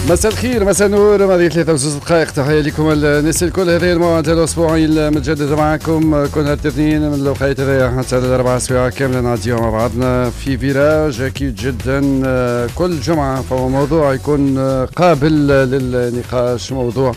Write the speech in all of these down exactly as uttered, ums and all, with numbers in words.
مساء الخير، مساء النور، ماضي ثلاثة وزوج دقائق. تحية لكم الناس الكل. هذا الموعد الأسبوعي المتجدد معكم كل نهار الاثنين من الوقيت هذايا حتى الأربعة سوايع كاملة نعديو مع بعضنا في virage. أكيد جدا كل جمعة فهو موضوع يكون قابل للنقاش، موضوع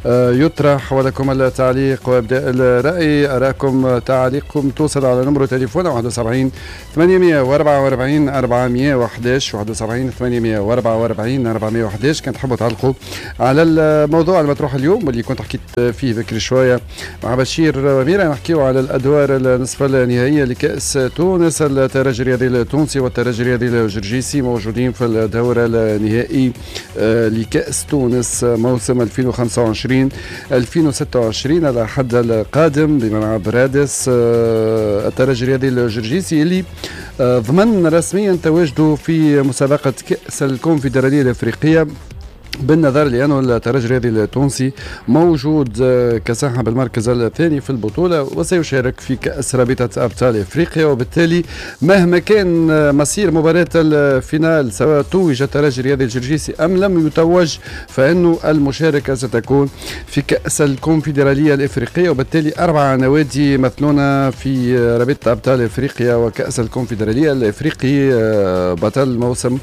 يطرح ولكم التعليق وابداء الرأي. أراكم تعليقكم توصل على نمرو تليفون واحد وسبعين ثمانمية وأربعة وأربعين أربعمية وأحداش، واحد وسبعين ثمانمية وأربعة وأربعين أربعمية وأحداش. كان تحبوا تعلقوا على الموضوع المطروح اليوم واللي كنت حكيت فيه بكري شوية مع بشير وميرا، نحكيو على الادوار النصف النهائية لكاس تونس. الترجي الرياضي التونسي والترجي الرياضي الجرجيسي موجودين في الدور النهائي لكاس تونس موسم ألفين وخمسة وعشرين ألفين وستة وعشرين على حد القادم بملعب رادس. الترجي الرياضي الجرجيسي اللي ضمن رسميا تواجده في مسابقة كاس الكونفدراليه الافريقية، بالنظر لأنه الترجي الرياضي التونسي موجود كصاحب المركز الثاني في البطولة وسيشارك في كأس رابطة أبطال إفريقيا، وبالتالي مهما كان مصير مباراة ال finale سواء توج الترجي الرياضي الجرجيسي أم لم يتوج، فإنه المشاركة ستكون في كأس الكونفدرالية الإفريقية، وبالتالي أربعة نوادي يمثلون في رابطة أبطال إفريقيا وكأس الكونفدرالية الإفريقي بطل موسم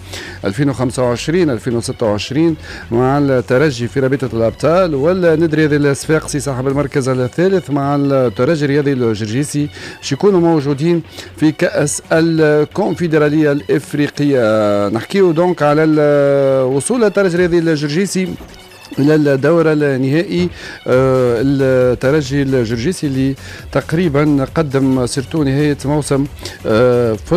ألفين وخمسة وعشرين ألفين وستة وعشرين مع الترجي في رابطة الأبطال، والنادي الرياضي الصفاقسي صاحب المركز الثالث مع الترجي الرياضي الجرجيسي باش يكونوا موجودين في كأس الكونفدرالية الإفريقية. نحكيو donc على وصول الترجي الرياضي الجرجيسي الى الدور النهائي. آه الترجي الجرجيسي اللي تقريبا قدم surtout نهاية موسم آه في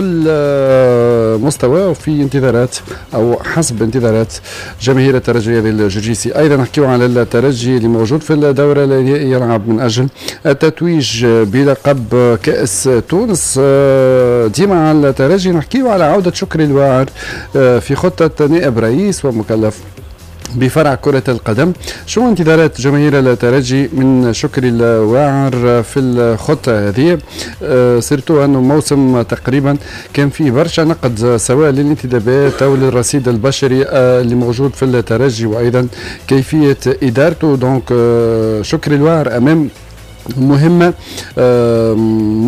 المستوى وفي انتظارات او حسب انتظارات جماهير الترجي الجرجيسي. ايضا نحكيو على الترجي اللي موجود في الدور النهائي يلعب من اجل التتويج بلقب كاس تونس. آه ديما على الترجي نحكيو على عوده شكري الواعر آه في خطه نائب رئيس ومكلف بفرع كرة القدم. شو انتظارات جماهير الترجي من شكري الواعر في الخطة هذه؟ أه surtout أنه موسم تقريبا كان فيه برشا نقد سواء للانتدابات أو للرصيد البشري أه اللي موجود في الترجي وأيضا كيفية إدارته. donc أه شكري الواعر أمام مهمة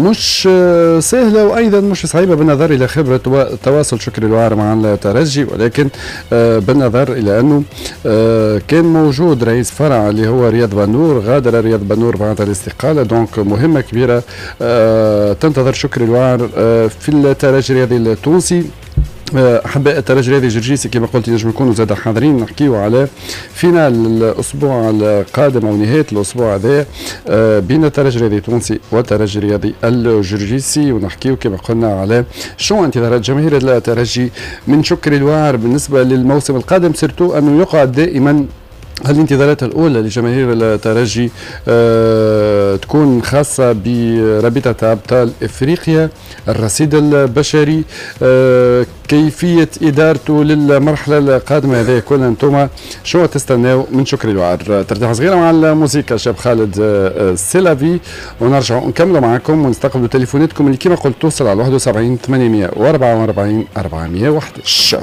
مش سهلة وأيضا مش صعيبة بالنظر إلى خبرة وتواصل شكري الواعر مع الترجي، ولكن بالنظر إلى أنه كان موجود رئيس فرع اللي هو رياض بنور، غادر رياض بنور بعد الاستقالة. donc مهمة كبيرة تنتظر شكري الواعر في الترجي الرياضي التونسي. احباء الترجي الرياضي الجرجيسي كما قلت ينجم يكونوا زاد حاضرين. نحكيو على finale الاسبوع القادم او نهاية الاسبوع هذا بين الترجي الرياضي التونسي والترجي الرياضي الجرجيسي، ونحكيو كما قلنا على شو انتظارات جماهير الترجي من شكري الواعر بالنسبة للموسم القادم، surtout انه يقعد دائما الانتظارات الأولى لجماهير الترجي أه تكون خاصة برابطة أبطال إفريقيا، الرصيد البشري، أه كيفية إدارته للمرحلة القادمة. هذا كل أنتم شو تستناو من شكري الواعر. ترتاح صغيرة مع الموسيقى شاب خالد c'est la vie، ونرجعوا نكملوا معكم ونستقبلوا تليفوناتكم اللي كما قلت توصل على واحد وسبعين ثمانمية وأربعة وأربعين أربعمية وأحداش.